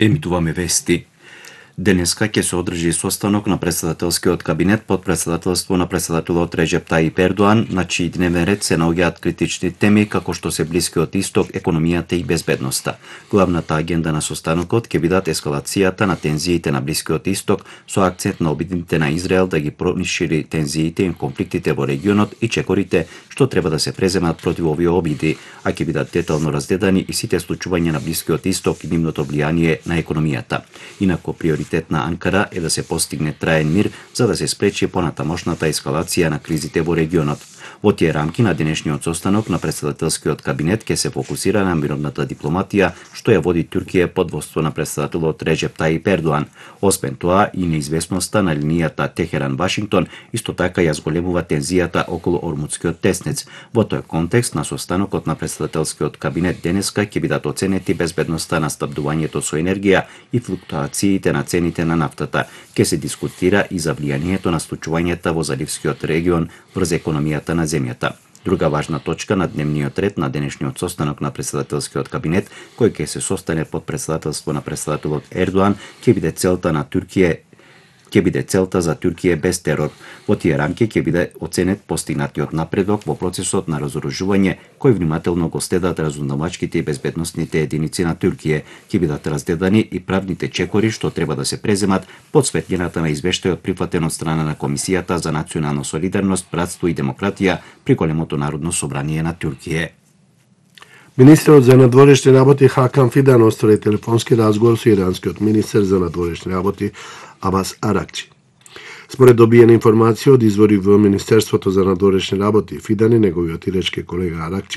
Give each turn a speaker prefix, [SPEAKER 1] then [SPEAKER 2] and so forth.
[SPEAKER 1] Емитуваме вести. Денеска ќе се одржи состанок на претседателскиот кабинет под претседателство на претседателот Реджеп Тајип Ердоан, на чиј дневен ред се наоѓаат критични теми како што се Блискиот Исток, економијата и безбедноста. Главната агенда на состанокот ќе бидат ескалацијата на тензиите на Блискиот Исток со акцент на обидите на Израел да ги пронишири тензиите и конфликтите во регионот и чекорите што треба да се преземат против овие обиди, а ќе бидат детално разгледани и сите случувања на Блискиот Исток и нивното влијание на економијата. Инаку приоритет на Анкара е да се постигне траен мир за да се спречи понатамошната ескалација на кризите во регионот. Во тие рамки на денешниот состанок на претседателскиот кабинет ќе се фокусира на мировната дипломатија што ја води Туркија под воство на претседателот Реджеп Тајип Ердоан. Освен тоа и неизвестноста на линијата Техеран-Вашингтон исто така ја зголемува тензијата околу Ормудскиот теснец. Во тој контекст на состанокот на претседателскиот кабинет денеска ќе бидат оценети безбедноста на снабдувањето со енергија и флуктуациите на цените на нафтата. Ќе се дискутира и за влијанието на случувањата во заливскиот регион врз економијата на земјата. Друга важна точка на дневниот ред на денешниот состанок на претседателскиот кабинет, кој ќе се состане под претседателство на претседателот Ердоан, ќе биде целта за Туркија без терор. Во тие рамки ќе биде оценет постигнатиот напредок во процесот на разоружување, кој внимателно го следат разузнавачките и безбедносните единици на Туркија. Ќе бидат разгледани и правните чекори што треба да се преземат под светлината на извештајот прифатен од страна на Комисијата за национална солидарност, братство и демократија при големото народно собрание на Туркија.
[SPEAKER 2] Министерот за надворешни работи Хакан Фидан оствари телефонски разговор со иранскиот министер за надворешни работи Абас Аракчи. Според добиена информација од извори во Министерството за надворешни работи, Фидан и неговиот ирачки колега Аракчи